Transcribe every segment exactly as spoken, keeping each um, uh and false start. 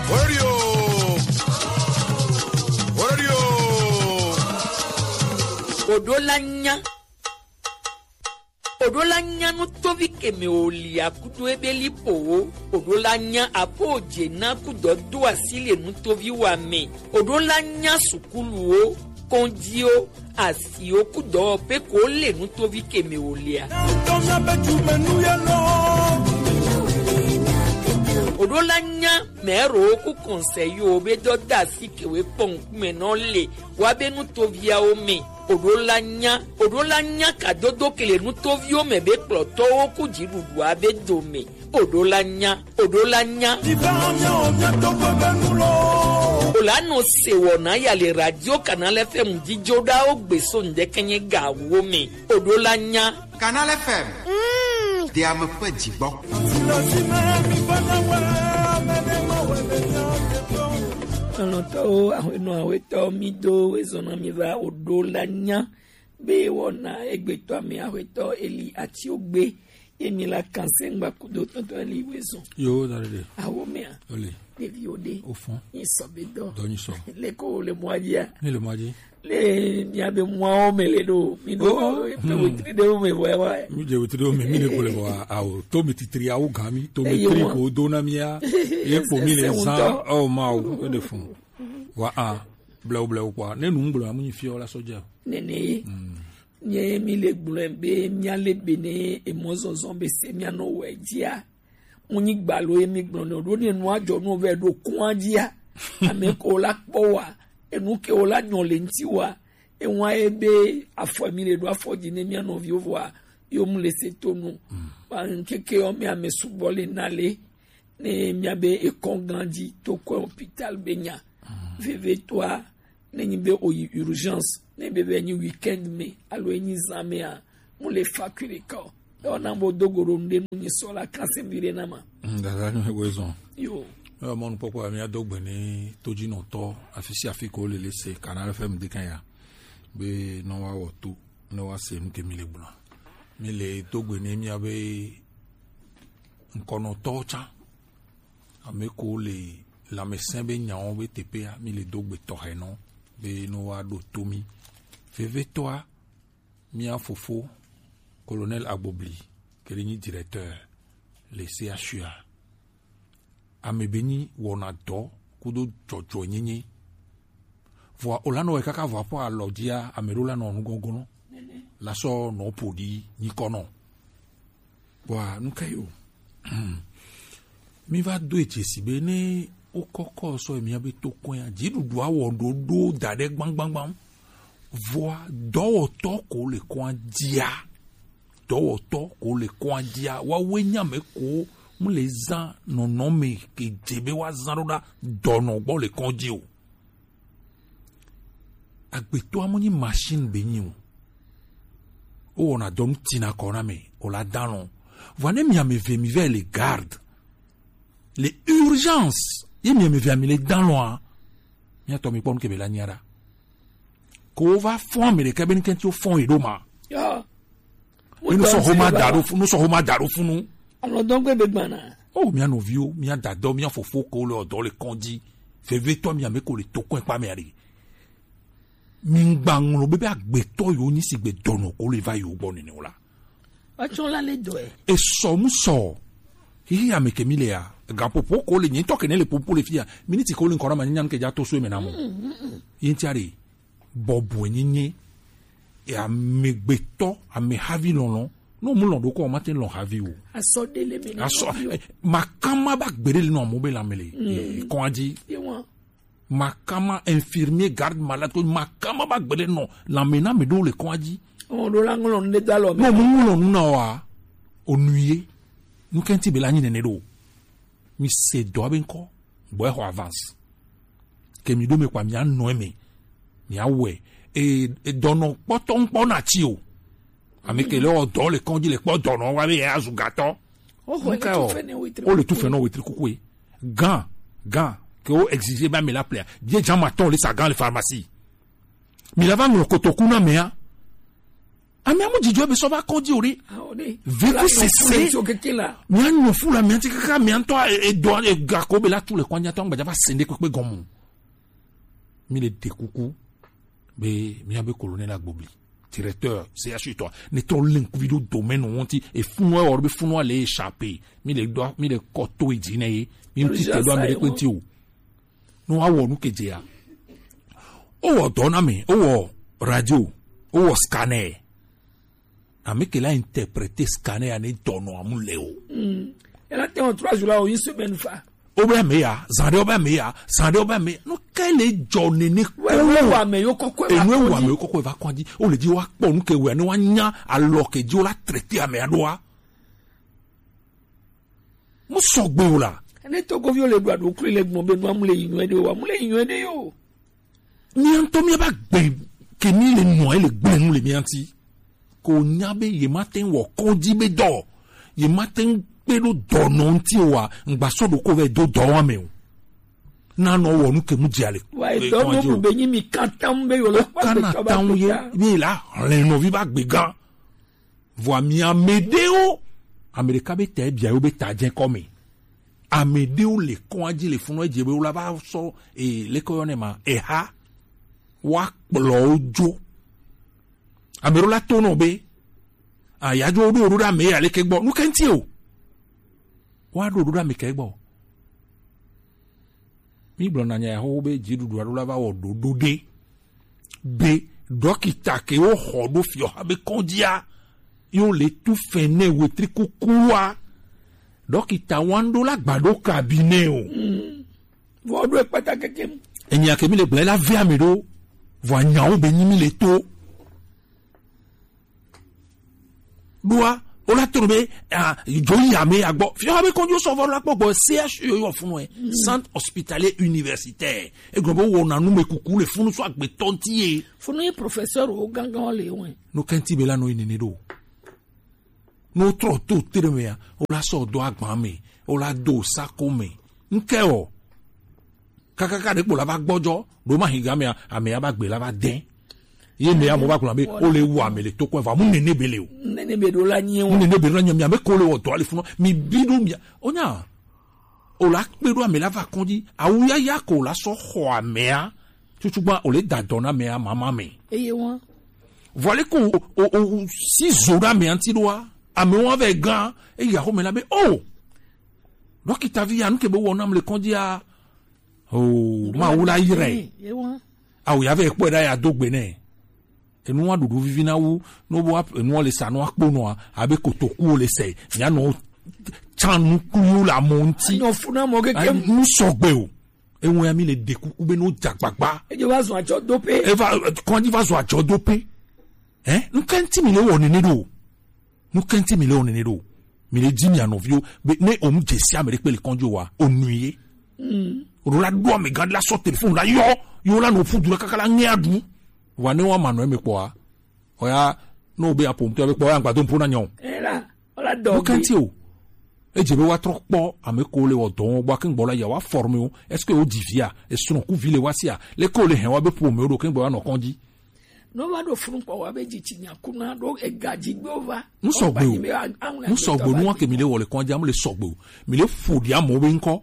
Horadio. Horadio. Oɖo la nya. Oɖo la nya nutovi keme o li akudo ebe li po wo. Oɖo la nya apo je na kudɔ do asi le nutovi wa me. Oɖo la nya sukulu wo, kɔnji wo, asi wo kudɔ pe ko le nutovi keme o lia. Oɖo la nya mɛro ku kɔnsɛyi wo be dɔ da asi kewe kpɔn kume nɔ le wa be nutoviawo me. Oɖo la nya, oɖo la nya kadodo kele nutoviwo me be kplɔtɔwo ku dziɖuɖua be dome. Oɖo la nya, oɖo la nya. Ola nɔ se wɔna ya le radio Canal F M dzidzo ɖawo gbe so ŋdɛkɛnyɛ gawo me. Oɖo la nya. Canal F M. Mm. De ame ƒe dzigbɔ. Lɔlɔ̃tɔwo, aƒenɔ, aƒetɔ, mi do ezɔna mi va oɖo la nya be wɔna egbetɔ ame aƒetɔ Eli Atiogbe ye mi la kanse ŋgba kudo tɔntɔ Eli wezɔn. Yo, da ɖe. Awo mea. Oli. Ɖeviwo ɖe. Ofɔn. Nyi sɔ be dɔ. Dɔ nyi sɔ. Le ko le mɔa dzia. Ni le mɔa dzi. Le mia be mɔawo me le ɖo. Mi ɖo. Oh, oh. Pe hmm. Wetri ɖewo me vɔ ya wa. Mi dze wetri ɖewo me, mi le ko le vɔ awo. To mi titri awo gan mi. To mi eye tri wa. Ko do na mia. Ye ko mi le ese zan. Ŋutɔ. Oh, ma o. E de fun. Wa a. Blewu blewu kpɔa, ne nu ŋgblɔ amu nyi fiɔ la sɔ dze. Nene ye. Mm. Nye mi le gblɔe be mia le be ne emɔzɔzɔ be se mia nɔ wɔ dzia. Mu nyi gbalo ye mi gblɔ ne ɖo ne nua dzɔ nu vɛ ɖo kɔa dzia. Ame ko la kpɔ wa, enu ke wo la nyɔ le ŋti wa. Ewa ye be afɔ mi le ɖo afɔ dzi ne mia nɔviwo vɔa, yo mu le se to nu. Mm. Ba ŋkeke yɔ mi ame sugbɔ le na le. Ne mia be ekɔ gã dzi to kɔ hôpital be nya. Vevitɔa, ne nyi be oyi urgence, ne be be nyi weekend me, alo enyi zã mea, mu le facture kɔ. Ewɔ na bo dogo ɖo nu ɖe nu nyi sɔ la kanse mi ɖe na ma. Mm, dada nyo ego ezɔn. Yo. Ewɔ mɔnukpɔkpɔ ya mia do gbe ne todzinɔtɔ afi sia afi ko le le se Canal F M de kan ya. Be nɔ wa wɔ to, ne wa se nu ke mi le gblɔ. Mi le do gbe ne mia be ŋkɔnɔtɔwo tsã. Ame ko le lãmesẽ be nyawo be teƒea, mi le do gbe tɔxɛ nɔ be no wa ɖo to mi. Vevitɔa, mia fofo, Colonel Agbobli, ke le nyi directeur le C H U a. Ame be nyi wɔna dɔ kudo dzɔdzɔenyenye. Vɔa, o la nɔ wɛ kaka vɔ aƒe alɔ dzia, ame ɖo la nɔ nugɔgɔnɔ. La sɔ nɔ ƒo ɖi nyikɔ nɔ. Vɔa, nu ka yi o? Mi va do edze si be ne wokɔkɔ sɔ mia be to kɔea, dziɖuɖua wɔ ɖoɖo da ɖe gbãgbãgbã. Vɔa, dɔwɔtɔ ko le kɔa dzia. Dɔwɔtɔ ko le kɔa dzia. Woawoe nye ame ko mu le zã nɔnɔme ke dze be woazã ɖo ɖa dɔnɔ gbɔ le kɔdzi o. Agbetɔa mo nyi machine be nyi o. Wowɔna dɔ nu tina kɔ na me, o la dalɔn. Vɔa ne mi ame eve mi vɛ le garde, le urgence, ye mi ame eve mi le dalɔn a, mi atɔ mi kpɔ nu ke be la nya ɖa. Ko wo va fɔn ame ɖeka be nu kɛntɛ wo fɔn yi ɖo ma. Ya. Nu sɔ xoma da ɖo fu-, nu sɔ xoma da ɖo funu. Alɔ dɔgbe be gbana. O, mia nɔviwo, mia dadɔ, mia fofo ko le ɔdɔ le kɔdzi. Vevitɔ mi ame ko le to kɔe kpa mea ɖe. Mi ŋgba ŋlɔ be, be agbetɔ yo nyi si gbe dɔnɔ ko le va yo gbɔ nene o la. Atsɔ la le dɔe. Esɔ mu sɔ. Hihi ame ke mi le ya. Gaƒoƒo ko le nye ŋutɔ ke ne le ƒoƒo le fia. Miniti ko le ŋkɔ na ma nya nu ke dza to so eme na mo. Mm, mm, mm. Ye ŋutia ɖe. Bɔbɔe nyenye, e, amegbetɔ, amehavi lɔlɔ. Ne o mu lɔn ɖokɔ, o ma te lɔn havi o. Asɔ ɖe le me ne havi o. Asɔ, eh, makama ba gbeɖe le nɔ amewo be lãme le, mm, eh, kɔa dzi. Ye wa. Makama infirmier, garde malade, ko makama ba gbeɖe nɔ lãme na ame ɖewo le kɔa dzi. O ɖo la ŋlɔ nu ɖe do alɔ me. Ne o mu ŋlɔ nu na wa, o nu ye. Nu kɛntɛ be la nyi nene ɖo. Mi se dɔ be ŋkɔ. Gbɔ exɔ avance. Ke mi ɖo me kpa mia nɔ eme. Mia wɛ. E, e dɔnɔ kpɔtɔ ŋkpɔ na tsi o. Ame ke le wɔ dɔ le kɔdzi le kpɔ dɔnɔ wa be ya zu gatɔ. O xɔ le tu fɛ ne wetri. O le tu fɛ nɔ wetri kukue. Gan, gan. Ke o exiger ba mi la plea. Die jama tɔn le sa gan le pharmacie. Mi la va ŋlɔ kotoku na mea. Ame amu dzidzɔ be sɔ va kɔdzi o ɖe. Vivi sese. Mia nyɔ fu la mia ti kaka mia ŋutɔ e- edɔ e- gako be la tu le kɔdzi atɔ ŋgbadza va se ɖe kpekpe gɔmu. Mi le ɖe kuku be mia be colonel Agbobli, directeur C H U tɔ, ne tɔ le ŋkuvi ɖo domaine ŋuti, e funu ewɔ be funu ale échappé. Mi le dɔ mi le kɔ to edzi ne ye. Mi ŋuti te ɖo ame ɖe kpe ŋuti o. No wa wɔ nu ke dzea. O wɔ dɔ na mi, o wɔ radio, o wɔ scanner. Ame ke la interpréter scanner ya ne dɔnɔ amu le o. Ela te ŋɔ trois jours la o une semaine fa. O bɛ me ya, zan ɖe o bɛ me ya, zan ɖe o bɛ me. No ke le dzɔ nene ko. Enu ewu ame yo kɔkɔ enu ewu ame yo kɔkɔ va kɔdzi. O le dzi wa kpɔ nu ke wɛ ne wa nya alɔ ke dzi o la traiter ame aɖoa. Mu sɔgbe o la. Ne togoviwo le ɖu aɖo kli le gbɔn be nua mu le yi nyuie ɖe o, wa mu le yi nyuie ɖe yo. Mia ŋutɔ mia ba gbe ke mi le nua le gblẽ nu le mia ŋuti. Ko nya be ye ma te ŋu wɔ kɔdzi be dɔ, ye ma te ŋu kpe ɖo dɔnɔ ŋuti o wa, ŋgba sɔ ɖo ko vɛ do dɔ wa me o. Na nɔ wɔ nu ke mu dze ale. Wa e dɔ no bu be nyi mi kata mu be yo la kpa be tɔ ba kpe ta. Be la hlẽ nɔvi ba gbe gã. Vɔa mi ame ɖewo, ame ɖeka be ta bia yo be ta dze kɔ me. Ame ɖewo le kɔa dzi le funɔ edze be wo la va sɔ e leke yɔ ne ma eha wa kplɔ wo dzo. Ame ɖewo la to nɔ be a ya dzo ɖo ɖo ɖe ame ya leke gbɔ nu ke ŋti o. Wa ɖo ɖo ɖe ame ke gbɔ. Mi gblɔ na nya ya xoxo be dziɖuɖu aɖo la va wɔ ɖoɖo ɖe. Be ɖɔkita ke wo xɔ ɖo fiɔha be kɔdzia yo le tu fɛn nɛ wetri kukua. Ɖɔkita wan ɖo la gba ɖo cabinet o. Vɔ ɖo ekpata keke. Enya ke mi le gblẽ la vea mi ɖo. Vɔ anyawo be nyi mi le to. Ɖoa, o la to be a dzo yi ame agbɔ. Fiɔha be kɔdzi sɔ vɔ la kpɔ gbɔ C H U yo funu e. Centre hospitalier universitaire. E gblɔ be wo na nu me kuku le funu so agbe tɔnti ye. Funu ye professeur o gangan le wɛ. No kenti be la no yi nene ɖo. No trɔ to tere me ya. O la sɔ do agba me. O la do sako me. Nke o. Kakaka ɖe kpo la va gbɔdzɔ ɖo ma higa mea ame ya ba gbe la va dɛ. Ye me ya mo ba gblɔ be o le wu ame le to kɔn va mu nene be le o. Nene be ɖo la nyi o. Mu nene be ɖo la nyi mi ame ko le wɔ dɔ ali funu mi bi ɖo mi o nya. O la kpe ɖo ame la va kɔdzi awu ya ya ko la sɔ xɔ amea tutu gba o le da dɔ na amea mama me. Eye wọn. Vɔ le ko o o o si zo ɖe amea ŋti ɖoa ame wọn vɛ gã eya xɔ me la be o. Ɖɔkita vi ya nu ke be wɔ nam le kɔdzi ya. Oh, Mawu la yire. Awu ya vɛ kpɔe ɖa ya do gbe nɛ. Enu wa ɖuɖu vivi na wu no bo enu le sa no akpo no abe kotoku le se. Ya no tsan nu ku yo la mo nti. Anyo funa mo keke. Nu sɔgbe o. Ewo ya mi le de kuku be no jagbagba. Ejo va zun ajo dope. Eva kɔndi va zun ajo dope. Eh? Nu kenti mi le wɔ nene do. Nu kenti mi le wɔ nene do. Mi le di mi anɔviwo be ne o mu jesi ame ɖe kpe le kɔnjo wa o nu ye. O la do ame gan la sɔ telefon la yɔ yo la no fu du la kaka la ŋe adu. Wa ne wa ma nɔ eme kpɔ a. Oya no be apomtɔ be kpɔ ya gbado mpo na nyɔ. Ela, ola do. Nu kenti o. Edze be wa trɔ kpɔ ame ko le wɔ dɔ wɔn gbɔ ake gbɔ la ya wa forme o. Est-ce que o di via? Esrɔ̃ ku vi le wa sia. Le ko le hɛn wa be po me o do ke gbɔ wa nɔ kɔnji. No va ɖo funu kpɔ wa be dzitsi nya ku na ɖo ega dzi gbe va. Nu sɔgbe o. Nu sɔgbe o nu wa ke mi le wɔ le kɔnja mu le sɔgbe o. Mi le fo di amewo be ŋkɔ.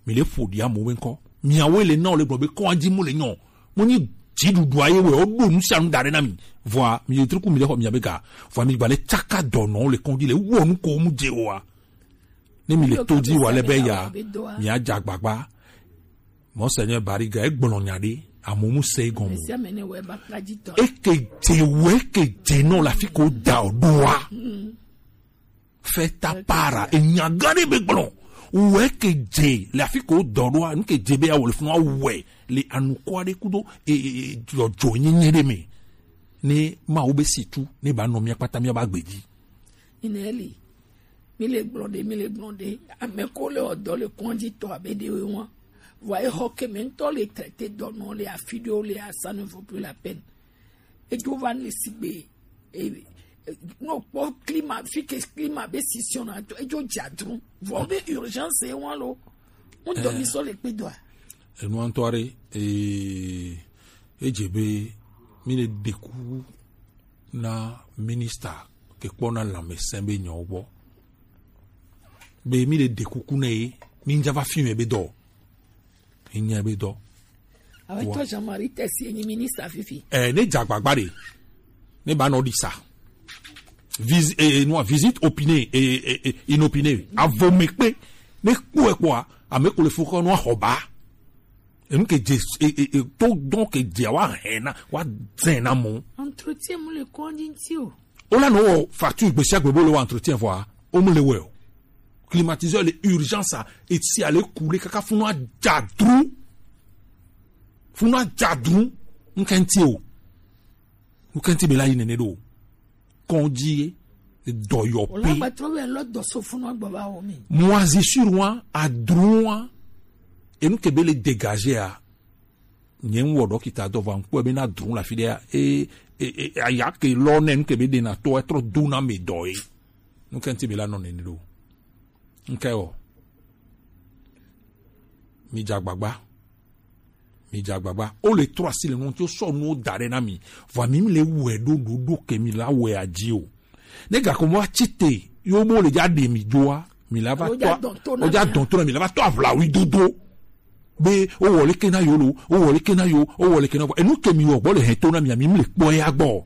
Mi le fo di amewo be ŋkɔ. Miawo le na o le gblɔ be kɔnji mu le nyɔ. Mo nyi dziɖuɖua ye wɛ o ɖo nu sia nu da ɖe na mi. Vɔa mi le triku mi le xɔ mia be ga. Vɔa mi gba le tsaka dɔnɔ le kɔnji le wɔ nu ko mu dze o wa. Ne mi le to dzi wa le be ya mi a dza gbagba. Monseigneur Bariga egblɔ nya ɖe amomu se egɔme. Eke dze wo eke dze nɔ le afi ko da o ɖoa. Feta para enya gã ɖe be gblɔ wo eke dze le afi ko dɔ ɖoa nu ke dze be ya wo le funu awɛ le anukua ɖe kudo e e e dzɔdzɔ nyenye ɖe me. Ne ma wo be si tu ne ba nɔ mia kpata mia ba gbe dzi. Ina eli. Mi le gblɔ ɖe, mi le gblɔ ɖe. Ame ko le wɔ dɔ le kɔndzi tɔ abe ɖe wo wɔn. Vɔa exɔ ke mɛ ŋutɔ le traité dɔnɔ le afi ɖewo le, ça ne vaut plus la peine. Edzo va le sigbe. E, e, no kpɔ climat, fi ke climat be situation na to, edzo dza dru. Vɔ be urgence ye wɔn lo. Ŋutɔ mi sɔ le kpe dɔa. Enua ŋutɔ aɖe, ee, edze be mi le ɖe kuku Na minista ke kpɔna lanmɛsɛn be nyɔ gbɔ be mi le ɖe kuku nɛ ye, mi ŋdza va fi mɛ be dɔ, mi nya be dɔ. Awo tɔ Jean-Marie Tesi enyi minista fifi. Ɛ, ne dza agbagba ɖe, ne ba nɔ ɖi sa. Vis, e, e, nua, visite opinée, e, e, e, inopinée. Avɔ me kpe, ne kpɔe kpɔa, ame ko le fukɔ nua xɔ ba. Enu ke dze, e, e, e, to dɔn ke dze wa hɛn na, wa zɛn na mɔ. Entretien mu le kɔndzi ŋti o. O la nɔ wɔ facture gbesiagbe bo le wɔ entretien vɔa, o mu le wɛ o. Climatiseur le urgence a, etsi a le ku le kaka funu a dza dru. Funu a dza dru. Ŋkɛ ŋti o. Ŋkɛ ŋti be la yi nene ɖo. Kɔndzi ye, dɔyɔƒe. Wòle agbatrɔ be lɔ dɔ so funu agba va wɔ mi. Moisissure wa, adru wa, enu ke be le dégager a, nye ŋu wɔ ɖɔkita dɔ va ŋkpɔe be na dru le afi ɖea, e, e, e, aya ke lɔ nɛ nu ke be ɖe na tɔ etrɔ do na me dɔ ye. Nu ke ŋti be la nɔ nene ɖo. Ŋkɛ wɔ. Mi dza agbagba. Mi dza agbagba. O le trɔ asi le nu ŋuti, o sɔ nuwo da ɖe na mi. Vɔa mi le wɔe ɖo ɖoɖo ke mi la wɔe adzi o. Ne gakɔ mɔ atsi te, yo bo le dza ɖe mi dzoa, mi la va tɔ, o dza dɔn to na mi la va tɔ aʋlawi dodo. Be o wɔ leke na yo lo, o wɔ leke na yo, o wɔ leke na yo. Enu ke mi wɔ gbɔ le hɛn to na mi, mi le kpɔ ya gbɔ.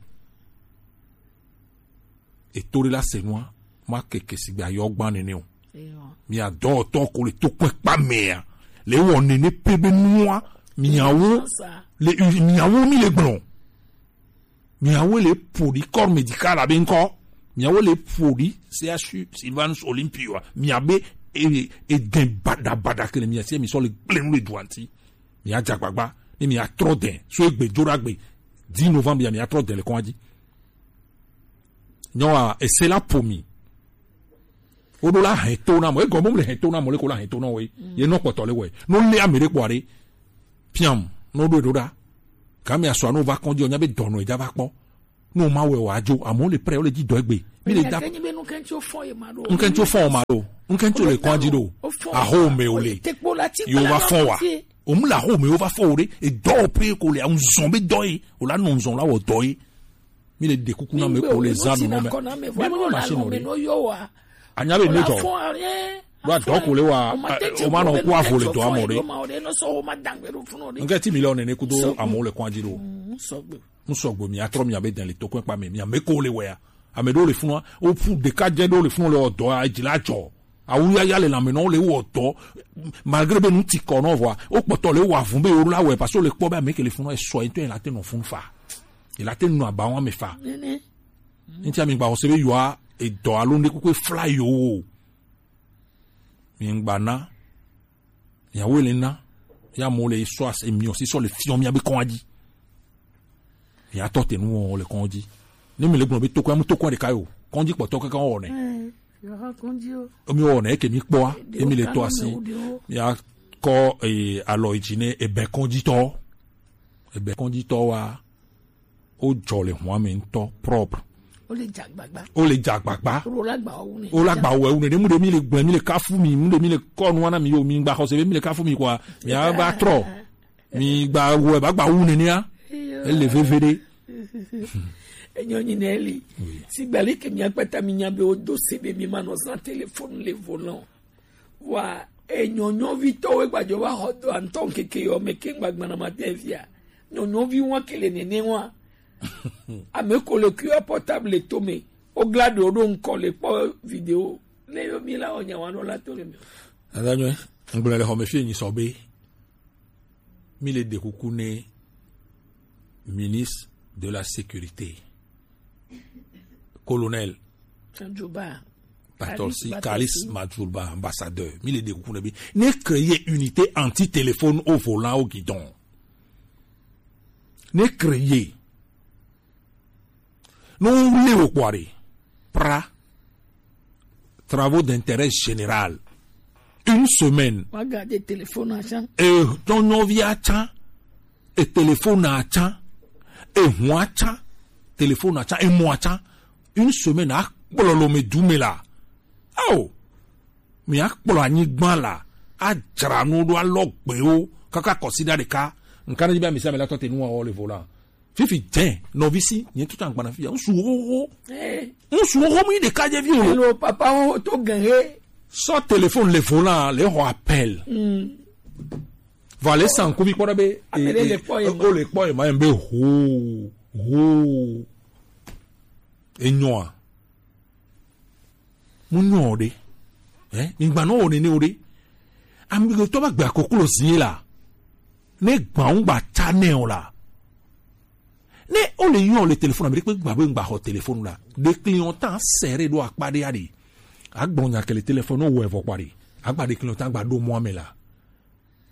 Eto ɖe la se nua, ma keke sigbe ayɔ gban nene o. Eyɔ. Mia dɔwɔtɔ ko le to kpɛkpa mea, le wɔ nene pe be nua, miawo, le, miawo mi le gblɔ. Miawo le ƒo ɖi corps médical abe ŋkɔ. Miawo le ƒo ɖi C H U Sylvanus Olympio wa. Miabe, e, e, edɛn baɖabaɖa ke le mia si, mi sɔ le gblẽ nu le dua ŋti. Mia dza agbagba, ne mia trɔ dɛn, so egbe dzo ɖa gbe, dix novembre ya mia trɔ dɛn le kɔn dzi. Nyɔa, ese la ƒo mi. Woɖo la hɛn to na mɔ. Egɔme mu le hɛn to na mɔ, le ko la hɛn to na wɔ ye. Ye nɔ kpɔtɔ le wɔ ye. No le ame ɖe kpɔ aɖe. Piam, no ɖo ɖo ɖa. Kami asɔ no va kɔn dzi, o nya be dɔnɔ edza va kpɔ. No ma wɛ wa dzo, amewo le prɛ, wo le dzi dɔ egbe. Mi le da. Ŋkɛntso fɔ ye ma ɖo. Ŋkɛntso fɔ ma ɖo. Ŋkɛntso le kɔn dzi ɖo. Aho me o le. Yo va fɔ wa. O mu la aho me o va fɔ o ɖe. Edɔ o pe ko le, a ŋzɔn be dɔ ye. O la nɔ ŋzɔn la wɔ dɔ ye. Mi le ɖe kuku na me ko le za nunɔ mɛ. Mi ma ma si nɔ ɖe. Anya be ne tɔ. Ɖo adɔ ko le wa, o ma nɔ ko avo le dɔ amɔ ɖe. Ŋkɛ ti mi le ɔ nene kudo amewo le kɔn dzi ɖo. Ŋsɔgbe mi atrɔ mi abe dɛn le to kɔn kpa me, mi ame ko le wɛa. Ame ɖewo le funua, o fu ɖeka dze ɖewo le funua le ɔ dɔa, edzi la dzɔ. Awu yaya le lanme nɔ le wɔ dɔ, malgré be nu ti kɔ nɔ vɔa, o kpɔtɔ le wɔ avun be o la wɛ parce que o le kpɔ be ame ke le funua esɔ ŋtɔ, e la te nɔ fun fa. E la te nɔ aba wɔn ame fa. Nene. Ŋtia mi gba xɔse be yoa edɔ alo ŋɖe kpekpe fla yo o. Mi ŋgba na. Miawo le na. Ya mo le sɔ as emi o si sɔ le fiɔ mia be kɔn dzi. Mia tɔ te nu wɔ le kɔn dzi. Ne mi le gblɔ be tokɔ, amu tokɔ ɖeka yo. Kɔn dzi kpɔtɔ kaka wɔ nɛ. Eh, yo ha kɔn dzi o. Emi wɔ nɛ ke mi kpɔa. Emi le to asi. Mia kɔ, eh, alɔ yi dzi ne ebe kɔn dzi tɔ. Ebe kɔn dzi tɔ wa. O jɔ le hua me ŋutɔ propre. O le dza agbagba. O le dza agbagba. O la gba wo ne. O la gba wo ne. Ne mu de mi le gblẽ, mi le kafu mi, mu de mi le kɔ nu na mi yo, mi gba xɔse be mi le kafu mi kɔa, mi a va trɔ. Mi gba wo ba gba wu ne nia. Ele veve de. Enyo nyi ne eli. Oui. Si gbali ke mi akpata mi nya be o do se be mi ma nɔ zan téléphone le volant. Wa e nyɔnyɔvitɔwo gbadzɔ va xɔ dɔ antɔ ŋkeke yɔ me ke gbagbana ma te fia. Nyɔnyɔvi wa ke le nene wa. Ame ko le kua portable to me. O gla ɖewo ɖo ŋkɔ le kpɔ video. Ne yo mi la o nya wa nɔ la to le me. Adanyɔ, ŋgblɔ le xɔme fie nyi sɔ be. Mi le ɖe kuku ne ministre de la sécurité. Colonel Madjouba. Patolsi, Kalis Madjouba, ambassadeur. Mi le ɖe kuku ne bi. Ne créer unité anti-téléphone au volant au guidon. Ne créer. No le wo kpɔ ɖe. Pra. Travaux d'intérêt général. Une semaine. Wa garder téléphone atsa. E tɔnyɔvi atsa. E téléphone atsa. E hu atsa. Téléphone atsa. E mɔ atsa. Une semaine a kplɔ lo me du me la. Ao. Mi a kplɔ anyigba la. A dzra nu ɖo alɔ gbewo. Kaka kɔsi ɖa ɖeka. Nka ne dzi be amisa me la tɔ te nu wa wɔ le volant. Fifi dɛn, nɔvi si, nye tuta gbana fi ya. Ŋsu xoxo. Ŋsu xoxo mu yi ɖeka dze vi o. Hello, papa wo to gan he. Sɔ téléphone le volant, le xɔ appel. Vɔ ale san kuvi kpɔ ɖe be, ame ɖe le kpɔ ye ma. O le kpɔ ye ma, ye be ho, ho. Enyɔa. Mu nyɔ o ɖe. Eh, mi gba nɔ o nene o ɖe. Ami ɖo tɔ ba gba koklo zie la. Ne gba ŋu gba ta nɛ o la. Ne o le yɔ le téléphone, ame ɖe kpe gba be ŋgba xɔ téléphone la. Ɖe client ta sere ɖo akpa ɖe ya ɖe. Agblɔ nya ke le téléphone, o wɔ evɔ kpa ɖe. Agba ɖe client ta gba ɖo mɔ ame la.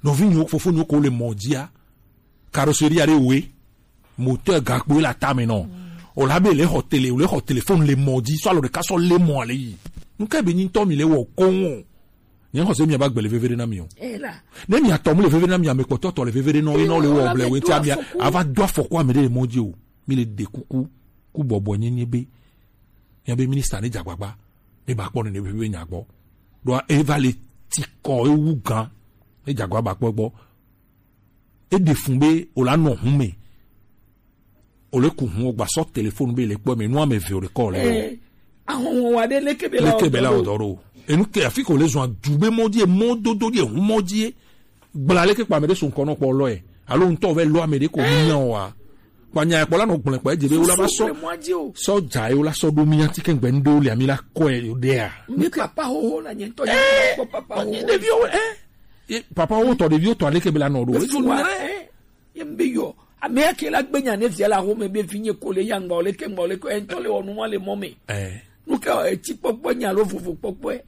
Nɔvinyewo, fofonyewo ko le mɔ dzia, carrosserie aɖe woe, moteur gakpo le atame nɔ. O la be le xɔ télé, o le xɔ téléphone le mɔ dzi, sɔ alɔ ɖeka sɔ le mɔ ale yi. Nuka be nyi ŋutɔ mi le wɔ koŋ o? Nye xɔ se mi aba gbe le veve ɖe na mi o. Ne mi atɔ mu le veve ɖe na mi, ame kpɔtɔ tɔ le veve ɖe nɔ, ye nɔ le wɔ ble wete amia, ava do afɔku ame ɖe le mɔ dzi o. Mi le ɖe kuku, ku bɔbɔ nye nye be, nya be ministre ne dze agbagba, ne ba kpɔ ne ne be nya gbɔ. Ɖo eva le ti kɔ ewu gan, ne dze agbagba kpɔ gbɔ. E ɖe fun be o la nɔ hun me. O le ku hun o gba sɔ téléphone be le kpɔ me nu ame ve o le kɔ le o. Eh, ahɔnhɔn wa ɖe leke be la Leke be la o dɔ ɖo. Enu ke afi ko le zɔn du be mɔ dzi, mɔ dodo dzi, hun mɔ dzi. Gbla leke kpa ame ɖe so ŋkɔ nɔ kpɔ lɔ yɛ. Alo ŋutɔ vɛ lɔ ame ɖe ko mi nya wa. Kpa nya kpɔ la nɔ gblẽ kpɔ edze be wo la va sɔ. Sɔ dza ye wo la sɔ ɖo mi ati ke ŋgbɛ ŋɖewo le ami la kɔ ye ɖea. Mi papa xoxo la nye ŋutɔ nye kpɔ papa xoxo. Ɖeviwo, eh. Ye papa wo tɔ ɖeviwo tɔ aleke be la nɔ ɖo. Ezo nu rɛ. Ye mbe yɔ. Ame ya ke la gbe nya ne via la xo me be vinye ko le ya ŋgba o leke ŋgba o leke, e ŋutɔ le wɔ nu ma le mɔ me. Eh. Nu ke o, etsi kpɔkpɔ nya lo vovo kpɔkpɔe.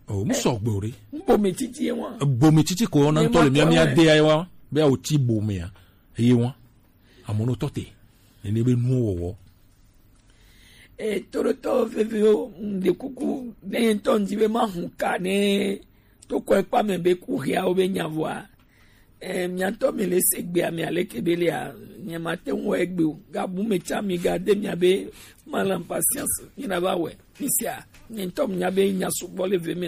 O, mu sɔgbe o ɖe. N bome titi ye wa. Bome titi ko na ŋutɔ le mia mia de ya wa. Be o ti bome ya. Ye wa. Amono tɔ te. Nene be nuwo wɔwɔ. E, toɖotɔ veviwo, ŋɖe kuku, ne ŋutɔ ŋdi be ma hun ka ne to kɔ ekpa me be ku hiawo be nya vɔa. E, miatɔ mi le se gbea mi aleke be lia, nye ma te ŋu wɔ egbe o. Gabu me tsa mi ga de mia be malam patience, mi na va wɛ. Mi sia, nye ŋutɔ mi nya be nya sugbɔ le ve me